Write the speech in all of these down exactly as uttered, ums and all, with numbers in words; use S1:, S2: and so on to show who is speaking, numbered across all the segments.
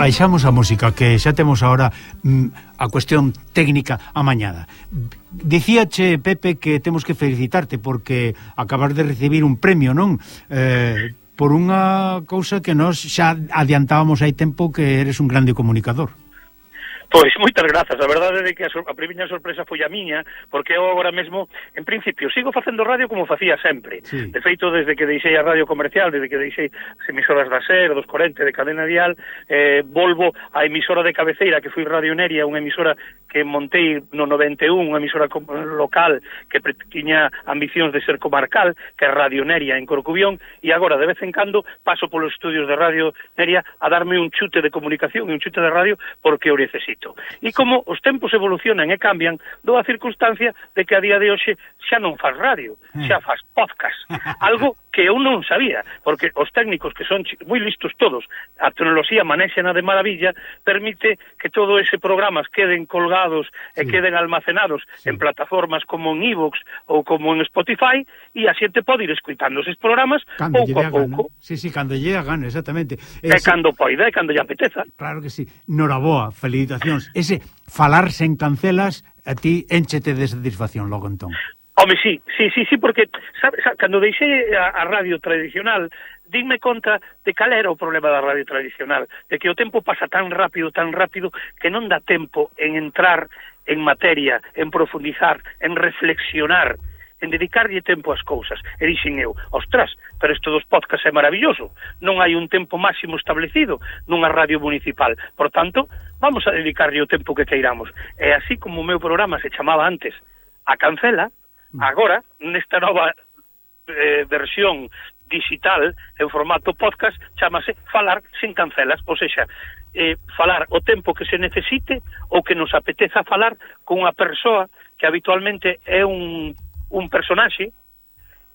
S1: baixamos a música, que xa temos agora mm, a cuestión técnica amañada. Dicíache, Pepe, que temos que felicitarte porque acabas de recibir un premio, non? Eh, por unha cousa que nós xa adiantábamos hai tempo, que eres un grande comunicador.
S2: Pois, moitas grazas, a verdade é que a, sor a primeira sorpresa foi a miña, porque eu agora mesmo, en principio, sigo facendo radio como facía sempre. Sí. De feito, desde que deixei a radio comercial, desde que deixei as emisoras da SER, dos corenta, de Cadena Dial, eh, volvo á emisora de cabeceira, que foi Radio Neria, unha emisora que montei no noventa e un, unha emisora local que tiña ambicións de ser comarcal, que é Radio Neria en Corcubión, e agora, de vez en cando, paso polos estudios de Radio Neria a darme un chute de comunicación e un chute de radio porque o necesito. E como os tempos evolucionan e cambian, dou a circunstancia de que a día de hoxe xa non faz radio, xa faz podcast. Algo que eu non sabía, porque os técnicos, que son moi listos todos, a tecnoloxía manéxena de maravilla, permite que todo ese programas queden colgados e sí. queden almacenados sí. en plataformas como en iVoox ou como en Spotify, e a xente pode ir escuitando eses programas cando pouco a pouco.
S1: Sí, sí, cando lle a gana, exactamente.
S2: E Ese... cando poida, e cando lle apeteza.
S1: Claro que sí. Noraboa, felicitacións. Ese falar sen cancelas a ti énchete de satisfacción logo entón.
S2: Home, sí, sí, sí, sí, porque sabe, sabe, cando deixei a, a radio tradicional, dime conta de cal era o problema da radio tradicional, de que o tempo pasa tan rápido, tan rápido, que non dá tempo en entrar en materia, en profundizar, en reflexionar, en dedicarlle tempo ás cousas. E dixen eu, ostras, pero isto dos podcasts é maravilloso, non hai un tempo máximo establecido nunha radio municipal, por tanto, vamos a dedicarlle o tempo que queiramos. E así como o meu programa se chamaba antes A Cancela, agora, nesta nova eh, versión digital, en formato podcast, chamase Falar sin Cancelas, ou seja, eh, falar o tempo que se necesite ou que nos apeteza falar con unha persoa que habitualmente é un un personaxe,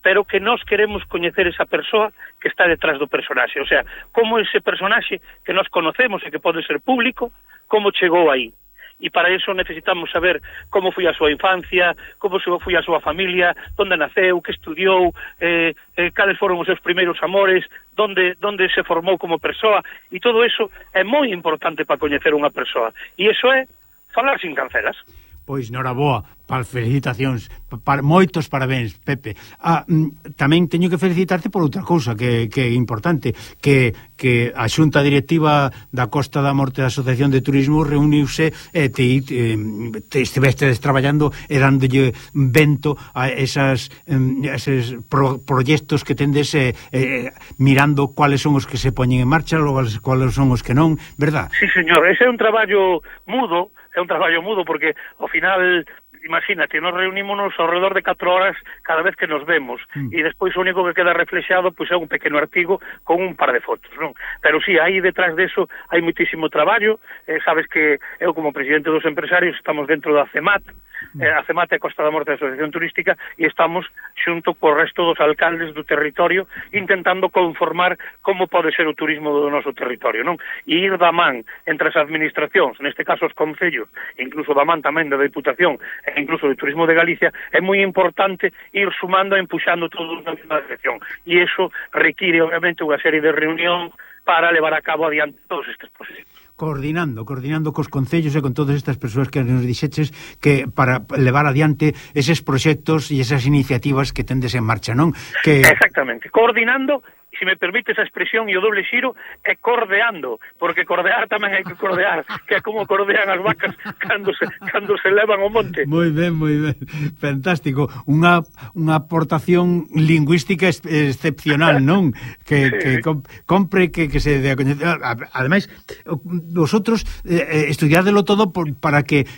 S2: pero que nós queremos coñecer esa persoa que está detrás do personaxe. O sea, como ese personaxe que nós conocemos e que pode ser público, como chegou aí. E para eso necesitamos saber como foi a súa infancia, como foi a súa familia, onde naceu, que estudiou, eh, eh, cales foron os seus primeiros amores, donde, donde se formou como persoa, e todo eso é moi importante para coñecer unha persoa. E iso é falar sin cancelas.
S1: Pois, noraboa, para felicitacións, para, moitos parabéns, Pepe. Ah, tamén teño que felicitarte por outra cousa que, que é importante, que, que a Xunta Directiva da Costa da Morte da Asociación de Turismo reuniuse e te, te, te estivestes traballando e dándolle vento a esas, eses pro, proxectos que tendes eh, eh, mirando cuáles son os que se poñen en marcha, logo cuáles son os que non, verdad?
S2: Sí, señor, ese é un traballo mudo, é un traballo mudo porque ao final, imagínate, nos reunímonos ao redor de catro horas cada vez que nos vemos mm. e despois o único que queda reflexado pois é un pequeno artigo con un par de fotos, non? Pero sí, aí detrás deso hai muitísimo traballo, eh, sabes que eu como presidente dos empresarios estamos dentro da CEMAT, mm. eh, a CEMAT é Costa da Morte da Asociación Turística e estamos xunto co resto dos alcaldes do territorio intentando conformar como pode ser o turismo do noso territorio, non? E ir da man entre as administracións, neste caso os concellos, incluso da man tamén da Deputación e incluso do Turismo de Galicia, é moi importante ir sumando e empuxando todos na mesma dirección. E iso require, obviamente, unha serie de reunión para levar a cabo adiante todos estes procesos.
S1: Coordinando, coordinando cos concellos e con todas estas persoas que nos dixeches que para levar adiante eses proxectos e esas iniciativas que tendes en marcha, non? Que...
S2: Exactamente, coordinando, se me permite esa expresión e o doble xiro, é cordeando, porque cordear tamén hai que cordear, que é como cordean as vacas cando se, cando se levan ao monte.
S1: Moi ben, moi ben, fantástico, unha, unha aportación lingüística ex excepcional, non? Que, sí. que compre que, que se dé a coñecer. Ademais, vosotros eh, estudiádelo todo por, para que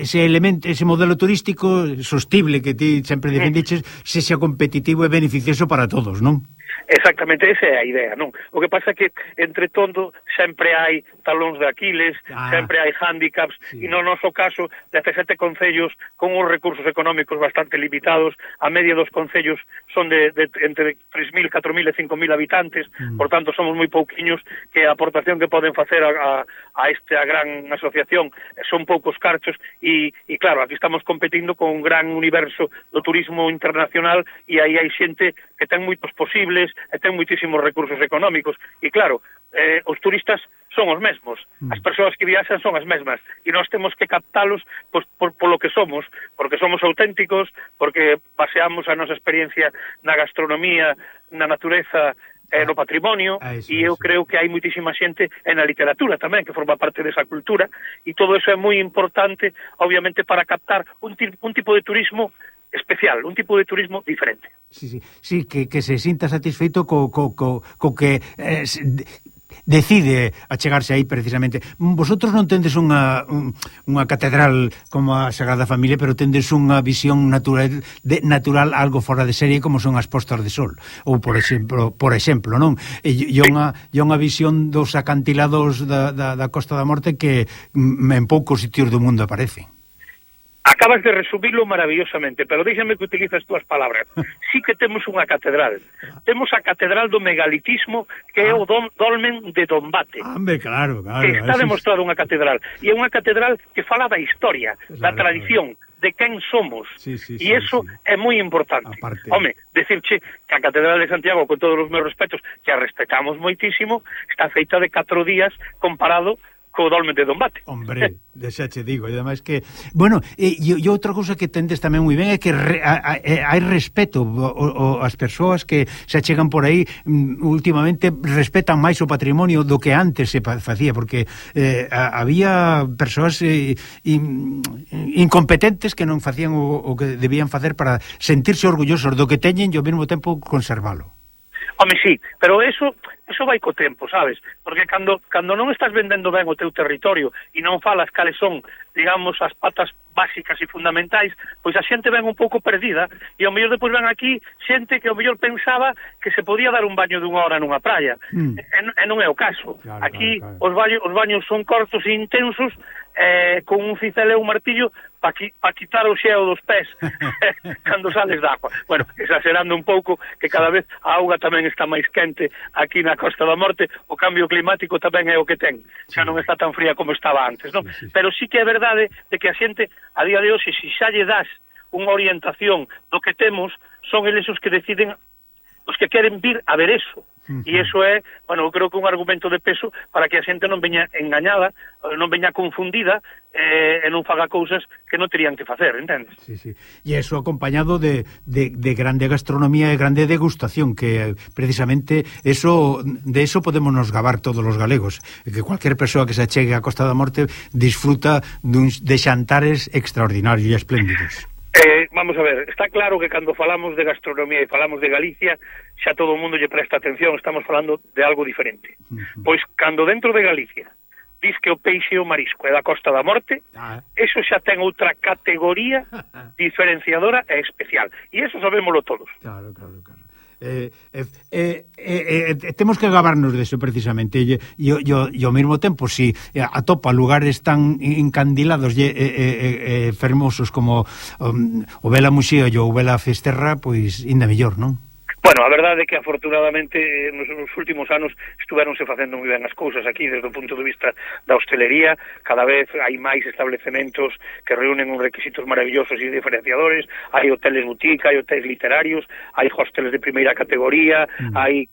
S1: ese elemento, ese modelo turístico sostible que ti sempre defendiches, sexa competitivo e beneficioso para todos, non?
S2: Exactamente, esa é a idea, non? O que pasa é que, entre todo, sempre hai talóns de Aquiles, ah, sempre hai handicaps, sí. E no noso caso, dezasete concellos con uns recursos económicos bastante limitados, a media dos concellos son de, de entre tres mil, catro mil e cinco mil habitantes, mm. por tanto, somos moi pouquiños, que a aportación que poden facer a, a, a esta gran asociación son poucos carchos, e, e claro, aquí estamos competindo con un gran universo do turismo internacional, e aí hai xente que ten moitos posibles, e ten moitísimos recursos económicos, e claro, eh, os turistas son os mesmos. As persoas que viaxan son as mesmas e nós temos que captalos pois, por, por lo que somos, porque somos auténticos, porque baseamos a nosa experiencia na gastronomía, na natureza, eh, no patrimonio,
S1: ah, eso,
S2: e eu
S1: eso.
S2: creo que hai muitísima xente en a literatura tamén, que forma parte desa cultura, e todo eso é moi importante, obviamente, para captar un, un tipo de turismo especial, un tipo de turismo diferente.
S1: Sí, sí, sí que, que se sinta satisfeito co, co, co, co que eh, decide achegarse aí precisamente. Vosotros non tendes unha, un, unha catedral como a Sagrada Familia, pero tendes unha visión natural, de, natural algo fora de serie como son as postas de sol, ou por exemplo, por exemplo, non? E, e unha, e unha visión dos acantilados da, da, da Costa da Morte que en poucos sitios do mundo aparecen.
S2: Acabas de resumirlo maravillosamente, pero déxame que utilices as túas palabras. Sí que temos unha catedral. Temos a catedral do megalitismo, que ah. é o dom, dolmen de Dombate.
S1: Hombre, claro, claro.
S2: Que está demostrado unha catedral. E é unha catedral que fala da historia, claro, da tradición, claro, de quen somos.
S1: Sí, sí,
S2: e iso
S1: sí, sí.
S2: é moi importante.
S1: Aparte...
S2: Home, decirche que a catedral de Santiago, con todos os meus respetos, que a respetamos moitísimo, está feita de catro días comparado co dolmen de Dombate.
S1: Hombre, xa che digo, e ademais que, bueno, e, e outra cousa que tendes tamén moi ben é que re, a, a, hai respeto, o, o, as persoas que se achegan por aí últimamente respetan máis o patrimonio do que antes se facía, porque eh, a, había persoas eh, in, incompetentes que non facían o, o que debían facer para sentirse orgullosos do que teñen e ao mesmo tempo conservalo.
S2: Home, sí, pero eso eso vai co tempo, sabes? Porque cando cando non estás vendendo ben o teu territorio e non falas cales son, digamos, as patas básicas e fundamentais, pois a xente ven un pouco perdida e ao mellor depois ven aquí xente que ao mellor pensaba que se podía dar un baño dunha hora nunha praia. Mm. E, e non é o caso. Claro, aquí claro, claro. Os baños os baños son cortos e intensos, eh, con un cincel e un martillo para qui, pa quitar o xeo dos pés cando sales da agua. Bueno, exagerando un pouco, que cada vez a auga tamén está máis quente aquí na Costa da Morte, o cambio climático tamén é o que ten, xa non está tan fría como estaba antes, non? Sí, sí. Pero sí que é verdade de que a xente a día de hoxe, se xa lle das unha orientación do que temos, son eles os que deciden, os que queren vir a ver eso. Uh-huh. E iso é, bueno, eu creo que un argumento de peso para que a xente non veña engañada, non veña confundida eh, e non faga cousas que non terían que facer, entendes?
S1: Sí, sí. E iso acompañado de, de, de grande gastronomía e grande degustación, que precisamente eso, de eso podemos nos gabar todos os galegos, que cualquier persoa que se achegue a Costa da Morte disfruta duns, de xantares extraordinarios e espléndidos.
S2: Eh, vamos a ver, está claro que cando falamos de gastronomía e falamos de Galicia, xa todo o mundo lle presta atención, estamos falando de algo diferente. Uh-huh. Pois cando dentro de Galicia dis que o peixe e o marisco é da Costa da Morte, ah. eso xa ten outra categoría diferenciadora e especial. E eso sabémolo todos.
S1: Claro, claro, claro. Eh, eh, eh, eh, eh, temos que gabarnos deso precisamente e, e, e, e ao mesmo tempo si atopa lugares tan encandilados e, e, e, e fermosos como um, o Vela Muxía e o Vela Festerra, pois ainda mellor, non?
S2: Bueno, a verdade é que afortunadamente nos, nos últimos anos estuveronse facendo moi ben as cousas aquí desde o punto de vista da hostelería. Cada vez hai máis establecementos que reúnen uns requisitos maravillosos e diferenciadores. Hai hoteles boutique, hai hoteles literarios, hai hosteles de primeira categoría, mm. hai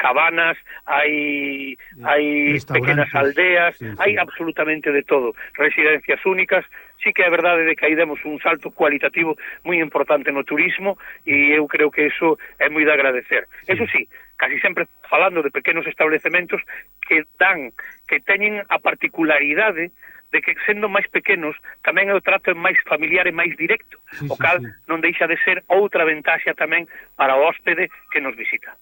S2: cabanas, hai hai pequenas aldeas, sí, sí. Hai absolutamente de todo, residencias únicas. Sí que é verdade de que aí demos un salto cualitativo moi importante no turismo e eu creo que eso é moi de agradecer. Sí. Eso sí, casi sempre falando de pequenos establecementos que dan, que teñen a particularidade de que sendo máis pequenos tamén o trato é máis familiar e máis directo, sí, o cal sí, sí. non deixa de ser outra ventaxa tamén para o hóspede que nos visita.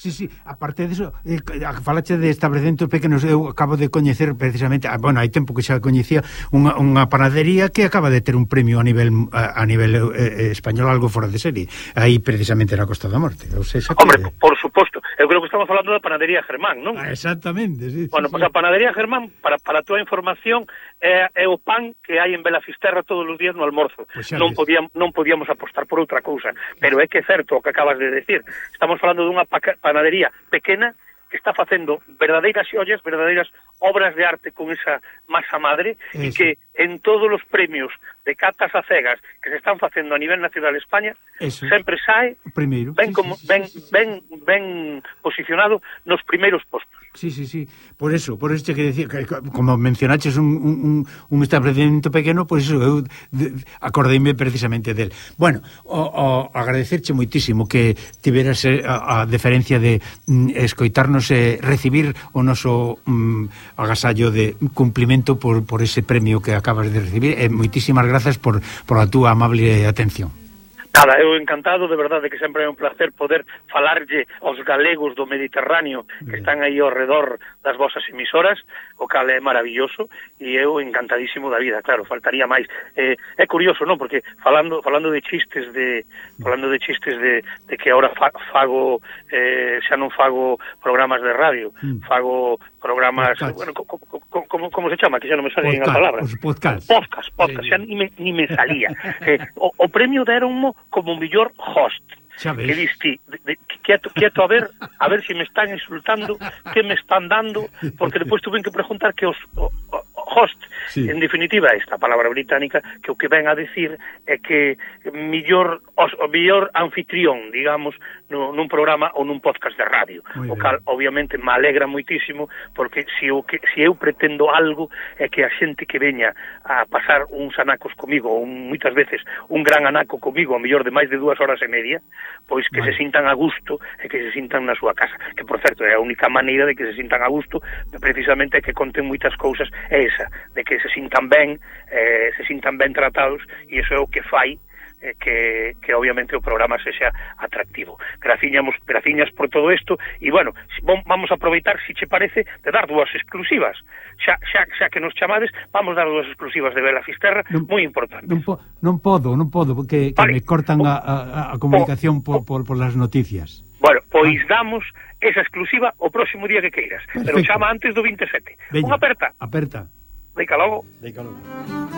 S1: Sí, sí, aparte de eso, eh, falache de establecentos pequenos, eu acabo de coñecer precisamente, bueno, hai tempo que xa coñecía unha, unha panadería que acaba de ter un premio a nivel a, a nivel eh, español, algo fora de serie, aí precisamente na Costa da Morte. Ou sea,
S2: Hombre,
S1: que...
S2: por suposto, eu creo que estamos falando da panadería Germán, non?
S1: Ah, exactamente, sí.
S2: Bueno,
S1: sí,
S2: pois
S1: sí.
S2: A panadería Germán, para, para a túa información, é, é o pan que hai en Belafisterra todos os días no almorzo. Pues non, podíamos, non podíamos apostar por outra cousa, pero é que é certo o que acabas de decir. Estamos falando dunha panadería pequena que está facendo verdadeiras ollas, verdadeiras obras de arte con esa masa madre e que en todos os premios de catas a cegas que se están facendo a nivel nacional de España, eso, sempre sae
S1: primeiro,
S2: ben,
S1: sí,
S2: como,
S1: sí,
S2: ben,
S1: sí, sí.
S2: ben, ben posicionado nos primeiros postos.
S1: Sí, sí, sí. Por eso, por eso que decía, que, como mencionaches un, un, un establecimiento pequeno, pois pues eso, eu acordeime precisamente del. Bueno, o, o agradecerche moitísimo que tiveras a, a deferencia de mm, escoitarnos e eh, recibir o noso mm, agasallo de cumplimento por, por ese premio que acabas de recibir, e moitísimas grazas por, por a túa amable atención.
S2: Nada, eu encantado, de verdade que sempre é un placer poder falarlle aos galegos do Mediterráneo que están aí ao redor das vosas emisoras, o cal é maravilloso, e eu encantadísimo da vida, claro, faltaría máis. Eh, é curioso, non? Porque falando falando de chistes de falando de chistes de, de que agora fa, fago eh, xa non fago programas de radio, mm. fago programas, podcast. Bueno, co, co, co, como, como se chama? Que xa non me salen as palabras.
S1: Os podcast.
S2: Podcast, podcast, xa ni me, ni me salía. eh, o, o premio deronmo como mellor host. Que diste, quieto, quieto a ver, a ver se si me están insultando, que me están dando, porque despois tuve que preguntar que os o, o, host, sí. En definitiva, esta palabra británica, que o que ven a decir é que millor, os, o millor anfitrión, digamos, no, nun programa ou nun podcast de radio. Muy o cal, bien. Obviamente, me alegra moitísimo, porque se eu, que, se eu pretendo algo é que a xente que veña a pasar uns anacos comigo, ou moitas veces un gran anaco comigo, a mellor de máis de dúas horas e media, pois que vale. Se sintan a gusto e que se sintan na súa casa, que por certo é a única maneira de que se sintan a gusto, precisamente é que conten moitas cousas, é esa, de que se sintan ben, eh, se sintan ben tratados, e iso é o que fai eh, que, que obviamente o programa sexa atractivo. Graciñas, graciñas por todo isto, e bueno, vamos a aproveitar, se che parece, de dar dúas exclusivas, xa, xa, xa que nos chamades, vamos dar dúas exclusivas de Bela Fisterra, non, moi importantes.
S1: Non, po, non podo, non podo, porque vale. Me cortan o, a, a, a comunicación o, por, por, por las noticias.
S2: Bueno, pois ah. damos esa exclusiva o próximo día que queiras, perfecto. Pero chama antes do veintisiete. Unha aperta.
S1: Aperta.
S2: Deica logo.
S1: Deica logo.